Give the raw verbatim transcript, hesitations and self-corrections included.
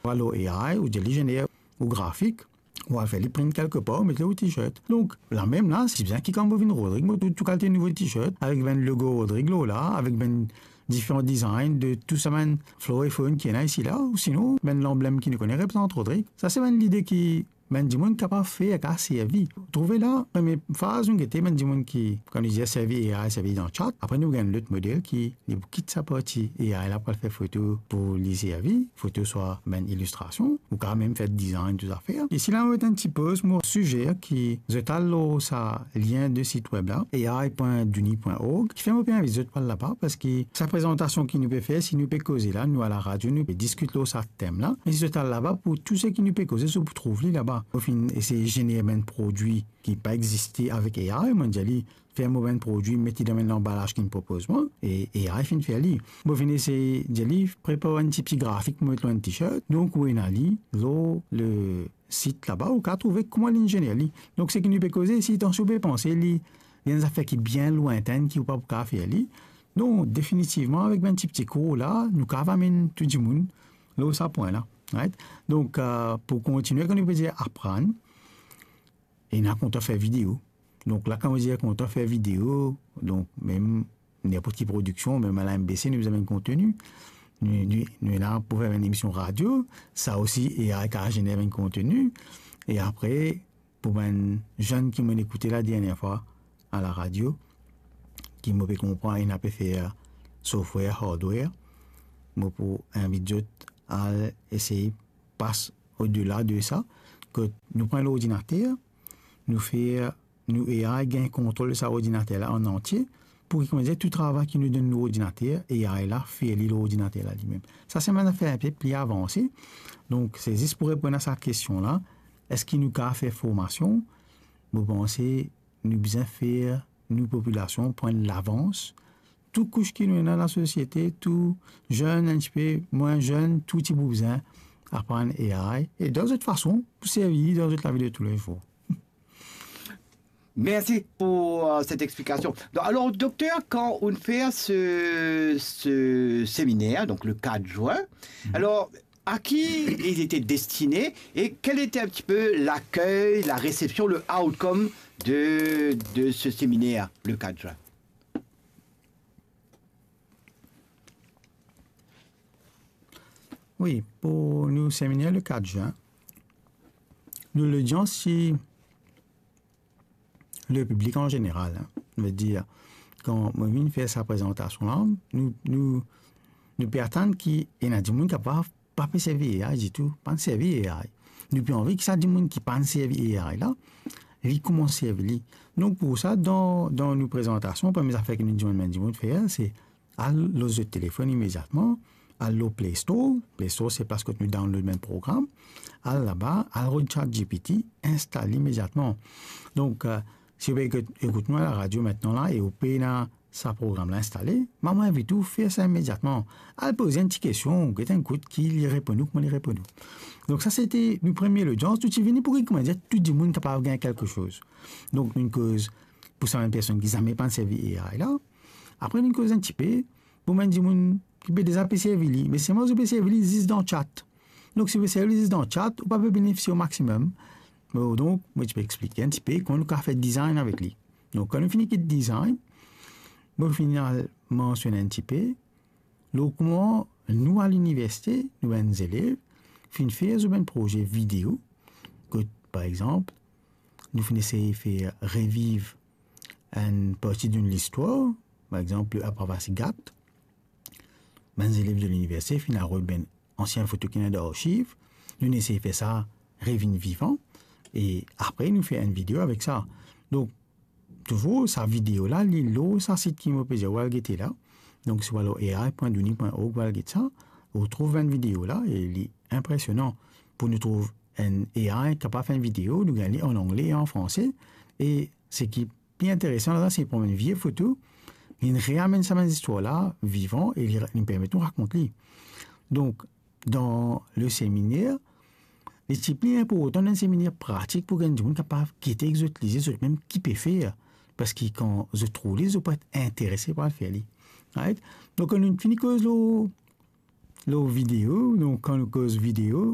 Ou al lor A I, ou dir li zener ou grafik, ou al fer li print kelke par, ou met li lor t-shirt. Donk, lamem la, si bizin ki kan mo vinn Rodrig, mo trouv tou kalite nouvo t-shirt, avek bann logo Rodrig lor la, avek bann diferan design de tou sa bann flora e fauna ki ena isi la, ou sinon, bann lanblem ki nou kone reprezant Rodrig. Sa se bann lide ki bann dimoun kapav fer, kapav servi. Trouve la, premie faz, nou gete bann dimoun ki, kan nou dir servi A I, servi dan chat, apre nou gagn lot model ki li pou kit sa parti A I la pou al fer foto pou li servi, foto swa bann ilistrasion, ou kapav mem fer design, tou zafer. E si la, mo met enn ti poz, mo sizer ki zot al lor sa lien de sit web la, A I point douni point org, ki fer mo pe invit zot pou al laba, parski sa prezantasion ki nou pe fer, si nou pe koze la, nou a laradio, nou pe diskit lor sa tem la. Me si zot al laba, pou tou seki nou pe koze, zot pou trouv li laba. Mo finn esey zener bann prodwi ki pa existe avek A I, mo dir li, fer mo bann prodwi, met li dan bann lanbalaz ki li propoz mwa, e A I finn fer li. Mo finn esey dir li, prepar enn tipti grafik, mo met lor enn t-shirt. Donk, ou ena li lor le sit laba, ou kapav trouve kouma li zener li. Donk, seki nou pe koze isi, atansion, pe panse li, li enn zafer ki bien lwintin, ki ou pa pou kapav fer li. Non, definitivman, avek bann tipti kour la, nou kapav amenn tou dimoun lor sa pwin la. Right? Donk, euh, pou kontinie, kan nou pe dir aprann, ena kontan fer video. Donk la, kan mo dir kontan fer video, donk mem ninport ki prodiksion, mem a la M B C, nou bizin bann konteni. Nou, nou, nou ena pou fer enn emision radio, sa osi, A I kapav zener bann konteni. E apre, pou bann zenn ki mo'nn ekoute la dernie fwa a laradio, ki mo pe konpran ena pe fer software, hardware, mo pou invit zot al esey pas odela de sa, kot nou pran lordinater, nou fer, nou A I gagn kontrol sa ordinater la an antie, pou ki, kouma dir, tou travay ki nou donn lordinater, A I la fer li lordinater la limem. Sa se bann zafer inpe pli avanse. Donk, se zis pou reponn a sa kestion la, eski nou kapav fer formasion? Mo panse nou bizin fer nou popilasion pran lavans, tou kous ki nou ena dan lasosiete, tou zenn, enn tipe mwin zenn, tou ti pou bizin aprann A I, e dan zot fason pou servi li dan zot lavi de toulezour. Merci pour, euh, cette explication. Donc, alors, docteur, quand on fait ce, ce séminaire, donc le quatre juin, alors, à qui il était destiné et quel était un petit peu l'accueil, la réception, le outcome de, de ce séminaire le quatre juin ? Wi, pou nou seminer le quatre juin, nou lodians se le piblik an zeneral, hein. Vedir, kan mo vinn fer sa prezantasion la, nou, nou, nou pe atann ki ena dimoun kapav pa pe servi A I ditou, pa'nn servi A I. Nou pe anvi ki sa dimoun ki pa'nn servi A I la, li koumans servi li. Donk pou sa, dan, dan nou prezantasion, premie zafer ki nou dimann bann dimoun fer, se al lor zot telefonn imediatman, al lor Play Store. Play Store se plas kot nou download bann program. Al laba, al rod ChatGPT, instal li imediatman. Donk, euh, si ou pe ekout, ekout nou a laradio aster la e ou pena sa program la instale, mo invit ou fer sa imediatman. Al poz enn ti kestion, get enn kout ki li reponn ou, kouma li reponn ou. Donk sa se te nou premie lodians, nou ti vini pou ki, kouma dir, tou dimoun kapav gagn kelke soz. Donk nou koz pou sa bann personn ki zame pa'nn servi A I la. Apre nou koz enn tipe pou bann dimoun ki pe deza pe servi li, me selman zot pe servi li zis dan chat. Donk si ou pe servi li zis dan chat, ou pa pe benefisie o maximum. Bon, donk mo ti pe explike enn tipe kouma nou kapav fer design avek li. Donk kan nou fini kit design, mo finn al mansionn enn tipe lor kouma nou a liniversite, nou bann zelev finn fer zot bann proze video, kot par exanp nou finn esey fer reviv enn parti de listwar, par exanp le Apravasi Ghat. Bann zelev de liniversite finn al rod bann ansien foto ki ena dan arsiv, nou esey fer sa revinn vivan, e apre nou fer enn video avek sa. Donk touzour sa video la, li lor sa sit ki mo pe dir ou al gete la. Donk si ou al lor A I point douni point org, ou al get sa, ou trouv bann video la e li inpresionan pou nou trouv enn A I kapav fer enn video, nou gagn li an angle e an franse, e seki pli interesan la, se pran bann vie foto, li reamenn sa bann zistwar la vivan e li, li permet nou rakont li. Donk dan le seminer, li ti pli inportan dan seminer pratik pou ki enn dimoun kapav gete ek zot lizie zot mem ki pe fer, parski kan zot trouv li, zot pou et interese pou al fer li. Right? Donk kan nou fini koz lor, lor video, donk kan nou koz video,